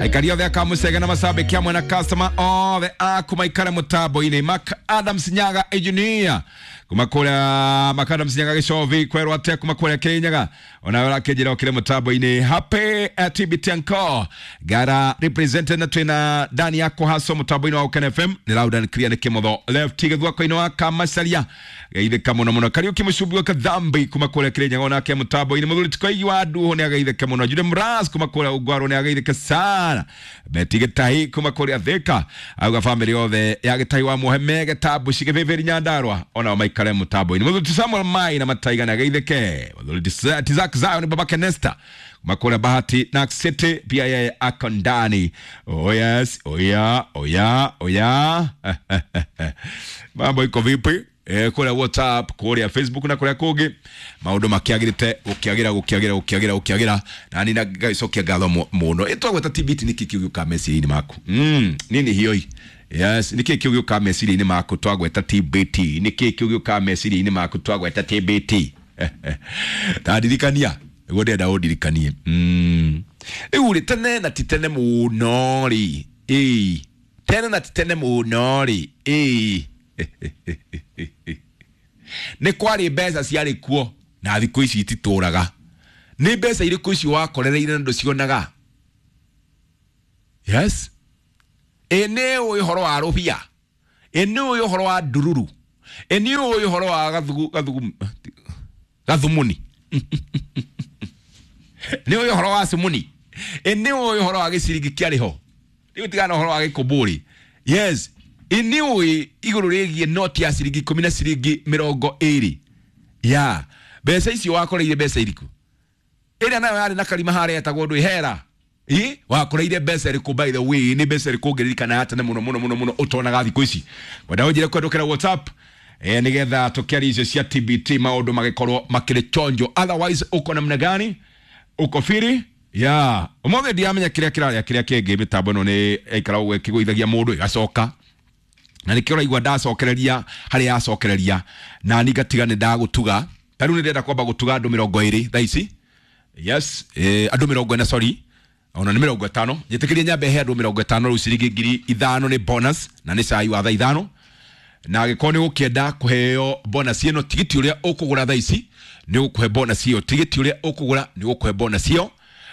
Aikari othe akamucege na macambĩki amwe na customer othe aku maikare mũtambo-inĩ. Mark Adams Nyaga engineer kuma kũrĩa Mark Adams Nyaga gĩcovi kwerwo atĩa kuma kũrĩa Kĩrĩnyaga, onawe ũrakĩnjĩra ũkĩrĩ mũtambo-inĩ. Happy TBT Anko gara represented na twĩna Dani yako haso mũtambo-inĩ wa Ũkene FM nĩ loud and clear nĩ kĩmotho left gĩthwako-inĩ wa Kamacaria geithĩka mũno mũno. Kariũki Mũcumbi wa Kathambi kuma kũrĩa Kĩrĩnyaga onake mũtambo-inĩ. Mũthuri Tikoigi wa Nduhu nĩ ageithĩke mũno. Jude Mras kuma kũrĩa Ungwarũ nĩ ageithĩke sana. Beti Gĩtahi kuma kũrĩa Thĩka auga famĩlĩ yothe ya Gĩtahi wa Muheme Gĩtambu Cigĩbĩbĩri Nyandarua onao maikare mũtambo-inĩ. Mũthuri ti Samuel Mai na Mataiga nĩ ageithĩke. Mũthuri ti Tizak Zion babake Nesta kuma kũrĩa Bahati Nax City pia yeye ako ndani. Oh yes, oh yeah, oh yeah, oh yeah. Mambo iko vipi? Kũrĩa WhatsApp, kũrĩa Facebook na kũrĩa kũngĩ maũndũ makĩagĩrĩte gũkĩagĩra gũkĩagĩra gũkĩagĩra gũkĩagĩra na ni ngagĩcokia ngatho mũno. Ĩtwagweta TBT nĩkĩ kĩu gĩũkaga meciria-inĩ maku? Nini hioi? Yes, nĩkĩ kĩu gĩũkaga meciria-inĩ maku twagweta TBT? Nĩkĩ kĩu gĩũkaga meciria-inĩ maku twagweta TBT? Tandirikania nĩguo ndĩrenda ũndirikanie. Rĩu rĩ, tene na ti tene mũno rĩ, ĩĩ tene na ti tene mũno rĩ, ĩĩ nĩ kwarĩ mbeca ciarĩ kuo na thikũ ici ititũraga. Nĩ mbeca irĩkũ icio wakorereire na ndũcionaga? Yes, ĩ nĩ ũĩ ũhoro wa rũbia, ĩ nĩ ũĩ ũhoro wa ndururu, ĩ nĩ ũĩ ũhoro wa gathugu gathugu gathumuni, nĩ ũĩ ũhoro wa sumuni, ĩ nĩ ũĩ ũhoro wa gĩciringi kĩarĩ ho rĩu tigana ũhoro wa gĩkũmbũri. Yes, ĩ nĩ ũĩ igũrũ rĩgiĩ noti ya ciringi 10 na ciringi 20 ya mbeca icio wakoreire mbeca irĩkũ? Ĩrĩa nayo yarĩ na karima harĩa yetagwo ndũ hera ĩ wakoreire mbeca ĩrĩkũ? By the way, nĩ mbeca ĩrĩkũ ũngĩririkana ya tene mũno mũno mũno mũno ũtonaga thikũ ici? Wenda ũnjĩre kwendũkĩra WhatsApp nĩgetha tũkĩaria icio cia TBT maũndũ magĩkorwo makĩrĩ chonjo. Otherwise uko namna gani? Uko firi ya ũmũthĩ? Ndiramenya kĩrĩa kĩrarĩa kĩrĩa kĩngĩ. Mĩtambo ĩno nĩ ĩikara ũguo ĩkĩgũithagia mũndũ ĩgacoka na nĩkĩo ũraigua ndacokereria harĩa yacokereria na ni ngatiga nĩ ndagũtuga. Ta rĩu nĩ ndĩrenda kwamba gũtuga andũ 20 thaa ici. Yes, andũ 40, sorry, ona nĩ 50. Njĩtĩkĩrie nyambe he andũ 50 rĩu ciringi 5,000 nĩ bonus na nĩ cai wa thaa 5. Na angĩkorwo nĩ ũkĩenda kũheo bonus ĩno, tigiti ũrĩa ũkũgũra thaa ici nĩ ũkũhe bonus ĩyo. Tigiti ũrĩa ũkũgũra nĩ ũkũhe bonus ĩyo.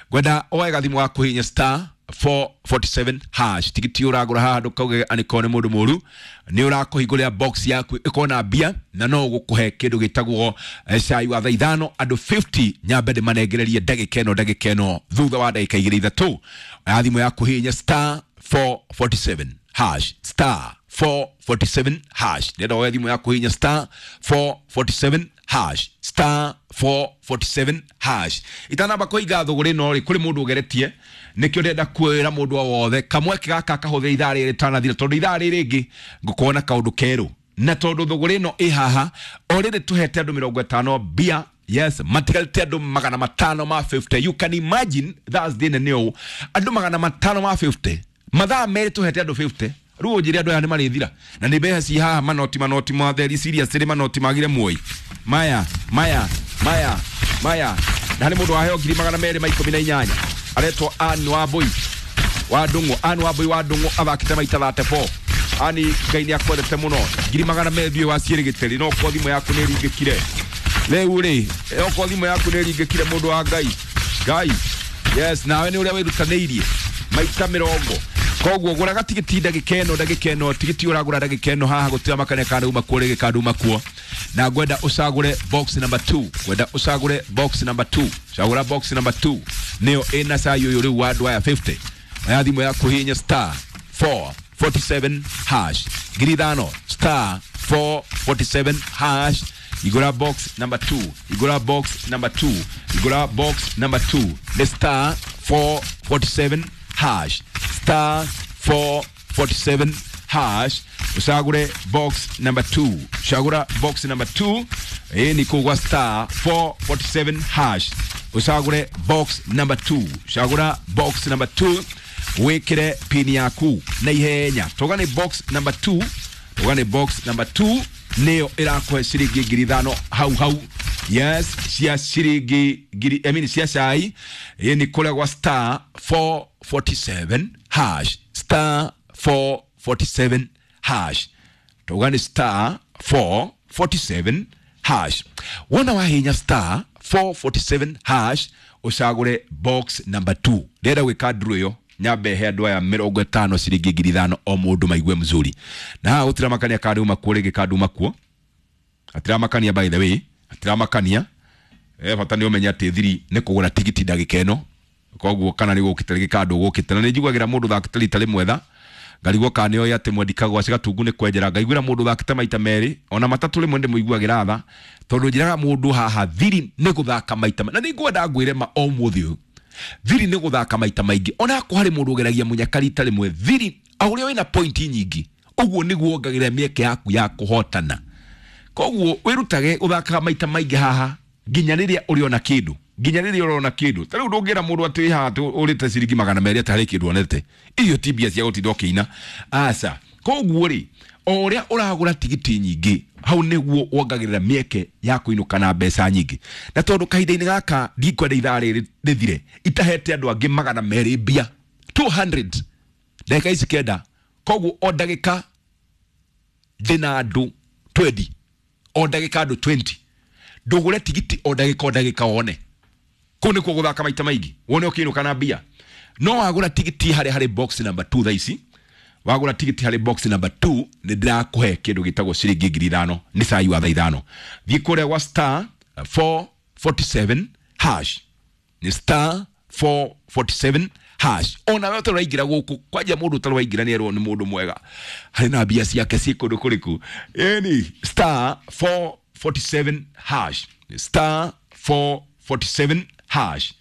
Ngwenda oe gathimũ ga kũhihinya star 447 hash. Tigiti ũragũra haha ndũkauge anĩkorwo nĩ mũndũ mũru, nĩ ũrakũhingũrĩra box yaku ĩkorwo na mbia na no ũgũkũhe kĩndũ gĩtagwo cai wa thaa 5. Andũ 50 nyambe ndĩmanengererie ndagĩka ĩno, ndagĩka ĩno thutha wa ndagĩka igĩrĩ ithatũ. Oya thimũ yaku, hihinya star 447 hash, star 447 hash. Ndĩrenda woe thimũ yaku, hihinya star 447 hash, star 447 hash. Itanamba kũhinga thũgũrĩ ĩno rĩ, kũrĩ mũndũ ũgeretie, nĩkĩo ndĩrenda kwĩra mũndũ o wothe kamweke gaka kahũthĩre ithaa rĩrĩ rĩtanathira, tondũ ithaa rĩrĩ rĩngĩ ngũkorwo na kaũndũ kerũ, na tondũ thũgũrĩ ĩno ĩ haha already tũhete andũ 50 mbia. Yes, matigarĩte andũ 500 ma 50. You can imagine Thursday nene ũũ andũ 500 ma 50, mathaa merĩ tũhete andũ 50. Rĩu ũnjĩre andũ aya nĩ marĩthira na nĩ mbeca ci haha, manoti manoti matheri serious rĩ, manoti magire muoi maya maya maya maya. Na harĩ mũndũ waheo 218,000 aretwo Ann Wambui wa Ndung'u. Ann Wambui wa Ndung'u athakĩte maita 34. Ani Ngai nĩ akwendete mũno. 200,000 thiĩ wa ciĩrĩgĩtĩri. No korwo thimũ yaku nĩ ĩringĩkire rĩu rĩ, okorwo thimũ yaku nĩ ĩringĩkire, mũndũ wa Ngai Ngai, yes, nawe nĩ ũrĩa wĩrutanĩirie maita 20. Koguo gũraga tigiti ndagĩka ĩno, ndagĩka ĩno tigiti ũragũra ndagĩka ĩno haha gũtira makania kana uma kuo rĩngĩ kana uma kuo. Na ngwenda ũcagũre box number 2, ngwenda ũcagũre box number 2. Cagũra box number 2, nĩyo ĩna cai ũyũ rĩu wa andũ aya 50. Oya thimũ yaku, hihinya star 447 hash, 5,000, star 447 hash. Igũra box number 2, igũra box number 2, igũra box number 2 nĩ star 447 hash, star 447 hash. Ũcagũre box number 2, cagũra box number 2. Ĩ nĩ kũgwa star 447 hash, ũcagũre box number 2, cagũra box number 2, wĩkĩre pin yaku na ihenya. Toga nĩ box number 2, toga nĩ box number 2 nĩyo ĩrakũhe ciringi 5,000 hau hau. Yes, cia ciringi ngiri, I mean, cia cai. Ĩni kũrĩa gwa star 447 hash, star 447 hash, tauga nĩ star 447 hash. Wona wahinya star 447 hash ũcagũre box number 2. Ndĩrenda gwĩka nduru ĩyo nyambe he andũ aya 50 ciringi 5,000 o mũndũ maigue mzuri. Na haha gũtiramakania kana nduma kuo rĩngĩ kana nduma kuo, atiramakania, by the way atiramakania. Bata nĩ ũmenye atĩ thiri nĩ kũgũra tigiti ndagĩka ĩno, koguo kana nĩ gũkĩte rĩngĩ kana ndũgũkĩte. Na nĩ njiguagĩra mũndũ thakĩte rita rĩmwe tha ngarigwo kana nĩoĩ atĩ mwendikagwo gatungu nĩ kwenjera. Ngaiguĩra mũndũ thakĩte maita merĩ ona matatũ rĩmwe ndĩmũiguagĩra tha, tondũ njĩraga mũndũ haha thiri nĩ gũthaka maita na nĩ ngwenda ngwĩre ma o mũthĩ ũyũ, thiri nĩ gũthaka maita maingĩ. Ona akorwo harĩ mũndũ ũgeragia mũnyaka rita rĩmwe, thiri o ũrĩa wĩna pointi nyingĩ ũguo nĩguo wongagĩrĩra mĩeke yaku ya kũhotana. Koguo wĩrutage gũthakaga maita maingĩ haha nginya rĩrĩa ũrĩona kĩndũ, nginya rĩrĩa ũrona kĩndũ. Ta rĩu ndũngĩra mũndũ atĩ haha ũrĩte ciringi 200 atĩ harĩ kĩndũ onete, icio ti mbia cia gũtinda ũkĩina, aca. Koguo rĩ, o ũrĩa ũragũra tigiti nyingĩ hau nĩguo wongagĩrĩra mĩeke ya kũinũka na mbeca nyingĩ. Na tondũ kahinda-inĩ gaka ndikwenda ithaa rĩrĩ rĩthire itahete andũ angĩ 200 mbia 200 ndagĩka ici 9. Koguo o ndagĩka ndĩna andũ 20, o ndagĩka andũ 20. Ndũgũre tigiti o ndagĩka o ndagĩka wone. Kũu nĩkuo gũthaka maita maingĩ wone ũkĩinũka na mbia. No wagũra tigiti harĩa harĩ box number 2 thaa ici, wagũra tigiti harĩ box number 2 nĩ ndĩrakũhe kĩndũ gĩtagwo ciringi 5,000 nĩ cai wa thaa 5. Thiĩ kũrĩa gwa star 447 hash, nĩ star 447 hash. Ona we ũtarĩ waingĩra gũkũ, kwanja mũndũ ũtarĩ waingĩra nĩ erwo nĩ mũndũ mwega harĩ na mbia ciake ciĩ kũndũ kũrĩkũ. Ĩni star 447 hash, star 447 hash,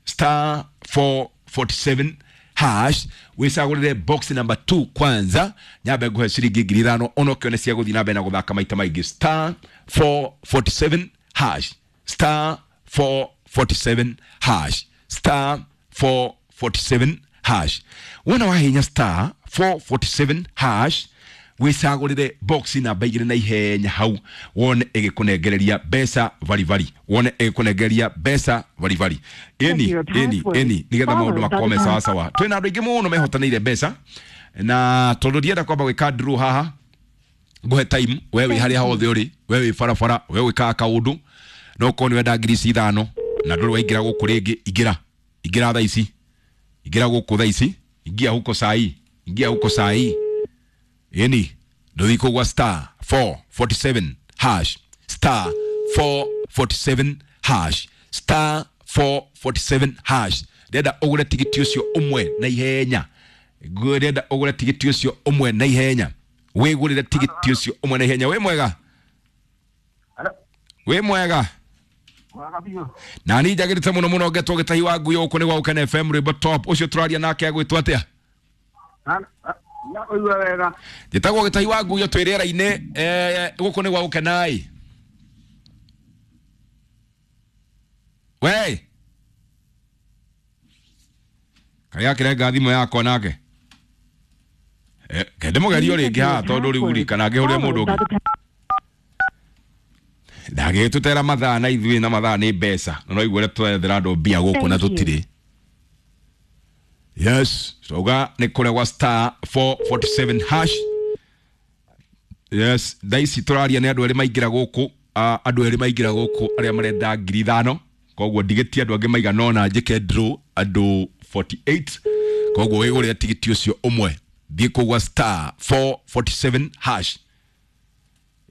star 447 hash. Wĩcagũrĩre box number 2 kwanza, nyambe nguhe ciringi 5,000 ona ũkĩone cia gũthiĩ na mbere na gũthaka maita maingĩ. Star 447 hash, star 447 hash, star 447 hash. Wona wahinya star 447 hash wĩcagũrĩre box namba 2 na ihenya hau wone ĩgĩkũnengereria mbeca varibari, wone ĩgĩkũnengereria mbeca varibari. Ĩni ĩni ĩni nĩgetha maũndũ makorwo me sawa sawa. Twĩna andũ aingĩ mũno mehotanĩire mbeca, na tondũ ndienda kwamba gwĩka draw haha nguhe time, we wĩ harĩa hothe ũrĩ, we wĩ barabara, we wĩkaga kaũndũ, no ũkorwo nĩ wenda ngiri ici 5 na ndũrĩ waingĩra gũkũ rĩngĩ, ingĩra ingĩra thaa ici, ingĩra gũkũ thaa ici, ingia huko sai, ingia huko sai. Ĩni ndũthiĩ kũgwa star 447 hash, star 447 hash, star 447 hash. Ndĩrenda ũgũre tigiti ũcio ũmwe na ihenya, ndĩrenda ũgũre tigiti ũcio ũmwe na ihenya, wĩgũrĩre tigiti ũcio ũmwe na ihenya. Wĩ mwega, wĩ mwega. Na niĩ njagĩrĩte mũno mũno ngetwo Gĩtahi wa Ngui gũkũ nĩ gwa Gũkena FM rwĩmbo top. Ũcio tũraria nake agwĩtwo atĩa? Njĩtagwo Gĩtahi wa Ngui twĩ rĩera-inĩ, gũkũ nĩ gwa Gũkena. We karĩa akĩrenga thimũ yakwa nake kende mũgerio rĩngĩ haha tondũ rĩu rĩ kana ngĩhũrĩre mũndũ ũngĩ ndagĩtũtera mathaa na ithuĩ na mathaa nĩ mbeca na no igue ũrĩa tũrethera andũ mbia gũkũ na tũtirĩ. Yes, tauga nĩ kũrĩa gwa star 447 hash. Yes, thaa ici tũraria nĩ andũ erĩ maingĩra gũkũ, andũ erĩ maingĩra gũkũ arĩa marenda 5,000. Koguo ndigĩtie andũ angĩ maigana ũna njĩke draw andũ 48. Koguo wĩgũrĩre tigiti ũcio ũmwe, thiĩ kũu gwa star 447 hash.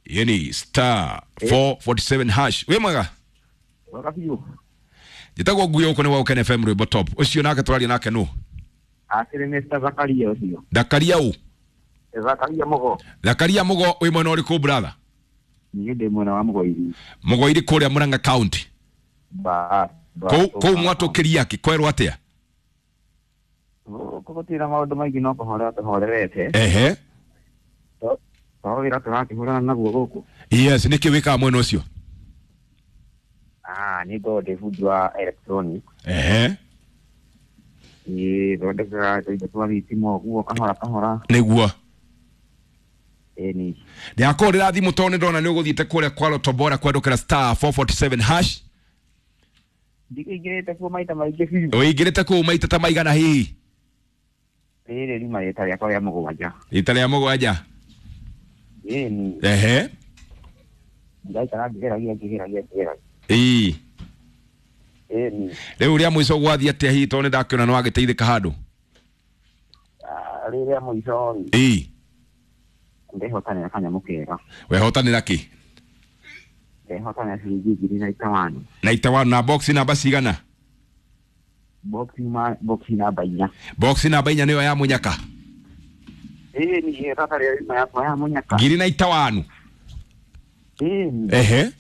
Yeni star 447 hash. Wĩ mwega? Njĩtagwo Ngui gũkũ nĩ gwa Gũkena FM rwĩmbo top. Ũcio nake tũraria nake nũ? Akĩrĩ Mr. Zakaria ũcio. Zakaria ũ? Zakaria Mũgo. Zakaria Mũgo wĩ mwena ũrĩkũ brother? Niĩ ndĩ mwena wa Mũgoiri. Mũgoiri kũrĩa Murang'a County. Kũu mwatũkĩria kĩ kwerwo atĩa? Gũkũ gũtirĩ na maũndũ maingĩ no kũhorera tũhorerete. Ehe. To wĩra tũrakĩhũrana naguo gũkũ. Yes, nĩkĩ wĩkaga mwena ũcio? Nĩ ngoragwo ndĩ bundi wa electronic. Ehe. Niĩ thondekaga tũindo twa thitima ũguo kahora kahora. Nĩguo. Ĩni. Ndĩrakũhũrĩra thimũ tondũ nĩ ndona nĩ ũgũthiĩte kũrĩa kwa Lotto Bora kwandũkĩra star 447 hash. Ndikĩingĩrĩte kuo maita maingĩ biũ. Ũingĩrĩte kũu maita ta maigana hihi? Rĩrĩ riuma rĩta rĩakwa rĩa mũgwanja. Rita rĩa mũgwanja. Ĩni. Ehe. Ndaikara ngĩgeragia ngĩgeragia ngĩgeragia. Ĩĩ. Ĩni. Rĩu rĩa mũico gwathiĩ atĩa hihi tondũ nĩndakĩona nĩwagĩteithĩka handũ? Rĩrĩa mũico rĩ, Ĩĩ. ndehotanĩra kanyamũ kega. Wehotanĩra kĩ? Ndehotanĩra ciringi ngiri na itawani. Na itawanu na box namba cigana? Box namba inya. Box namba inya nĩyo ya mũnyaka. Ĩni, tata rĩo riuma yakwa ya mũnyaka. Ngiri na itawanu. Ĩni. Ehe.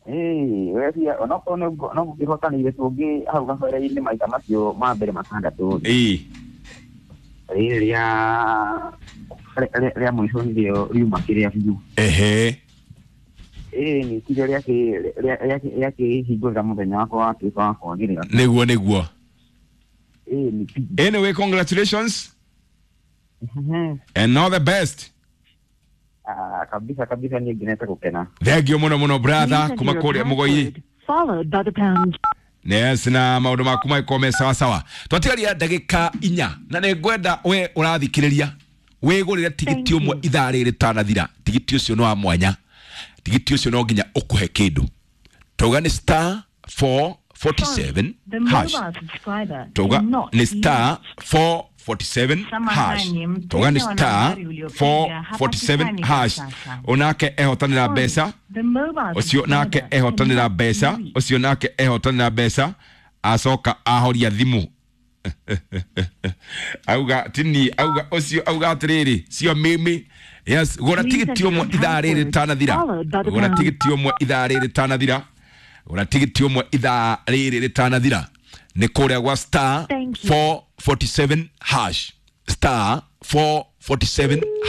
Ĩĩ, wecia onokorwo no ngũkĩhotanĩire tũngĩ hau kabere-inĩ maita macio ma mbere matandatũ. Ĩĩ. Rĩrĩ rĩa mũico nĩrĩo riuma kĩrĩa biũ. Ehe. Ĩĩ, nĩ tirio rĩakĩhingũrĩra mũthenya wakwa watuĩka wa kwagĩrĩra. Nĩguo nĩguo. Ĩĩ, nĩ biũ. Anyway, congratulations and all the best. Ah, kabisa kabisa niĩ ngenete gũkena. Thengio mũno mũno brother Please kuma enter your kũrĩa Mũgoi. password, followed by the pound. Yes, na maũndũ maku magĩkorwo me sawa sawa. Twatigaria ndagĩka inya na nĩ ngwenda we ũrathikĩrĩria wĩgũrĩre tigiti Thank ũmwe you. ithaa rĩrĩ rĩtanathira. Tigiti ũcio nĩ wa mwanya, tigiti ũcio no nginya ũkũhe kĩndũ. Tauga nĩ star 447 The hash. mobile subscriber Tauga cannot nĩ be star reached. 447 hash. Samahani, mteja Tauga nĩ wa star nambari uliopiga 447 hapatikani kwa hash. sasa. Onake ehotanĩra mbeca. The mobile Ũcio nake subscriber ehotanĩra cannot be mbeca, reached. ũcio nake ehotanĩra mbeca, acoka ahoria thimũ. Auga tini, auga ũcio, auga atĩrĩrĩ, cio mimi. Yes, gũra Please tigiti enter ũmwe your ithaa rĩrĩ password, rĩtanathira. followed by the Gũra pound. tigiti ũmwe ithaa rĩrĩ rĩtanathira. Gũra tigiti ũmwe ithaa rĩrĩ rĩtanathira. Nĩ kũrĩa gwa star Thank you. 447 hash. Star 447.